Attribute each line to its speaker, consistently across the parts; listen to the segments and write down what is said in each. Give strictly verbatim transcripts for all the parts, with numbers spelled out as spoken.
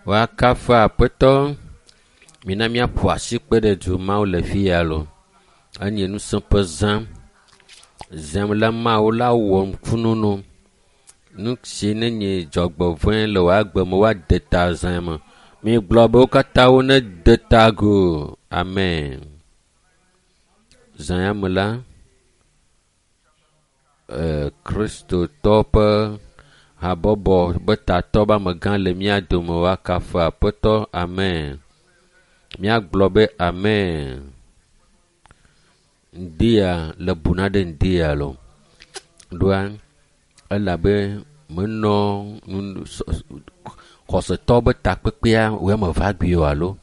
Speaker 1: Woakafu Aƒetɔ. Mina míaƒo asi kpe ɖe du Mawu le fi ya lo. Enye ŋusẽ ƒe zã. Zãm la Mawu la wɔ ŋkununu. Nu si ne nye dzɔgbevɔ̃e le wò agbe me woade ta zã me. Migblɔ be wo katã wonede ta agu. Amen. Zã ya me la, e, Kristotɔ ƒe habɔbɔ be tatɔ be amegã le mía dome woakafu Aƒetɔ. Amen. Míagblɔ be amen. Ŋdi ya le bu na ɖe ŋdi ya lo. Ɖoa elabe menɔ nu xɔsetɔ be takpekpea wo ame eve agbi o alo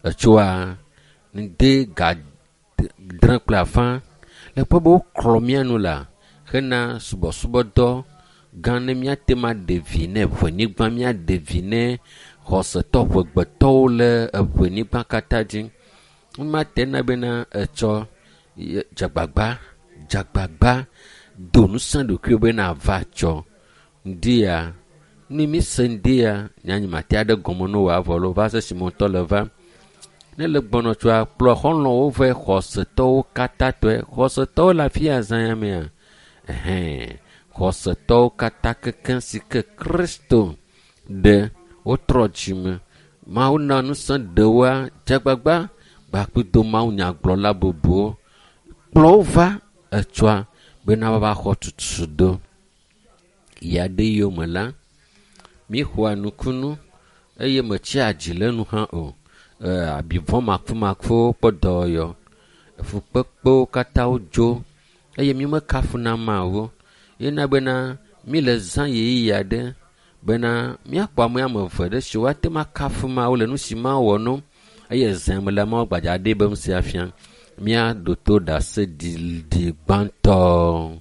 Speaker 1: etsoa ŋdi ga dre kple afã le kpɔ be woklɔ mía nu la hena subɔsubɔdɔ gã ne míate ma ɖe vi ne ʋenyigba míaɖe vi ne xɔsetɔ ʋegbetɔwo le eʋenyigba katã dzi. Womate na bena etsɔ dzegbagba dzegbagba do ŋusẽ ɖokuiwò be nava tsɔ ŋdi ya ne mi se ŋdi ya nyanyi mate aɖe gɔme ne wòavɔ lo va se esime wòŋutɔ le va. Ne le gbɔnɔ tsoa kplɔ xɔlɔ̃wo vɛ xɔsetɔwo katã tɔe. Xɔsetɔwo le afi ya zã ya mea. Ɛhɛn xɔsetɔwo katã kekeŋ si ke Kristo ɖe wotrɔ dzime. Mawu na ŋusẽ ɖewoa dzegbagba gbakpido Mawu nyagblɔla bubuwo. Kplɔ wo va etsɔa bena woava xɔ tutu do. Ya ɖe yome la, míxɔa nukunu eye metsia dzi le nu hã o. E, abivɔ makumakuwo kpɔ dɔyɔ. Fukpekpewo katã wodzo eye mi mekafuna Mawu. Yena bena mi le zã ɣeyiɣi aɖe bena míakpɔ ame ame eve ɖe si woate ŋu akafu Mawu le nu si Mawu wɔ no eye zã me le Mawu gbadza ɖe be ŋusẽ afia. Míaɖo to ɖase ɖiɖi gbãtɔ.